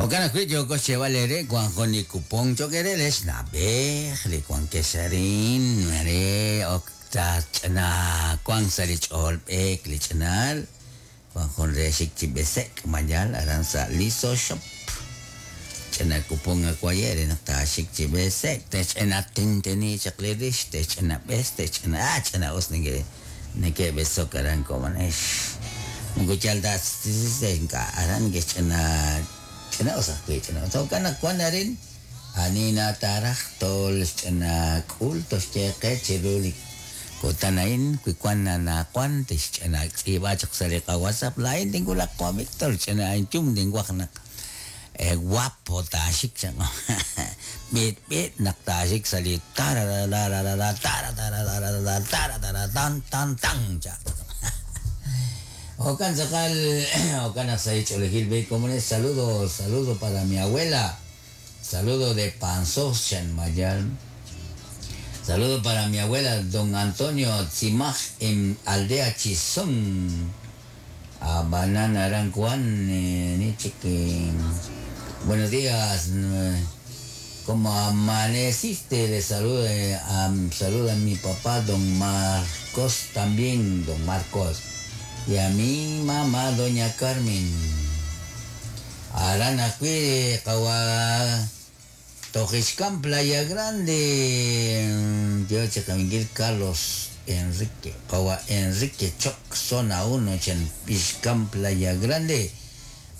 Jo'kan ajwi' yooko xyeeb'al eere wank jun li kupon cho'q eere re xna'b'ej li wankex arin re ok taach'ina wank sa' li ch'ool b'eek li ch'inaal wank jun re xik chi b'ese'k mayal aran sa' Liso Shop. Ch'ina kupon awaye' re naq taaxik chi b'ese'k tech'ina tinteni chaq li rix tech'ina b'es tech'ina ah ch'ina us neke neke'b'esok aran komonex. Moko yal ta ink'a' aran neke'xch'ina ch'ina us ajwi' ch'ina us. Jo'kan naq wan arin ani na taaraj tol xch'ina k'ul toxye qe chiru li kutan a'in wi wan anaqwan tixch'ina tz'iib'a chaq sa' li qaWhatsApp laa'in tinwulaq Juan Víctor ch'ina inyum tinwaj naq guapo taaxik chan b'it b'it naq taaxik sa' li tararararara tararararara tararara tan tan tan cha. Jo'kan tz'aqal jo'kan naq sa' li ch'oolejil b'e komones saludo saludo para mi abuela saludo de Panzós chan mayal. Saludo para mi abuela don Antonio Tzimaj en Aldea Chisón. A Banana Arancuán, Buenos días. ¿Cómo amaneciste? Le saluda, saluda a mi papá, don Marcos también, don Marcos. Y a mi mamá, doña Carmen. Arana Cuide, Kawa, Tojixcán, Playa Grande. Yo, Miguel Carlos Enrique, Kawa Enrique Choc, zona 1, Ixcán, Playa Grande.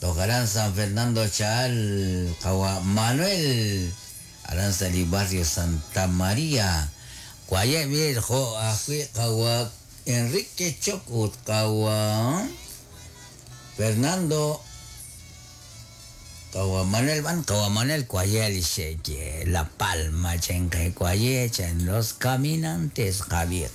Tojarán San Fernando Chaal, Kawa Manuel, Aranzali Barrio Santa María. Cuaye Viejo, Ajui, Kawa Enrique Choc, Kawa Fernando Kawa Manuel Van, Kawa Manuel Cuaye, La Palma, Chenque Cuaye, Chen, los caminantes, Javier.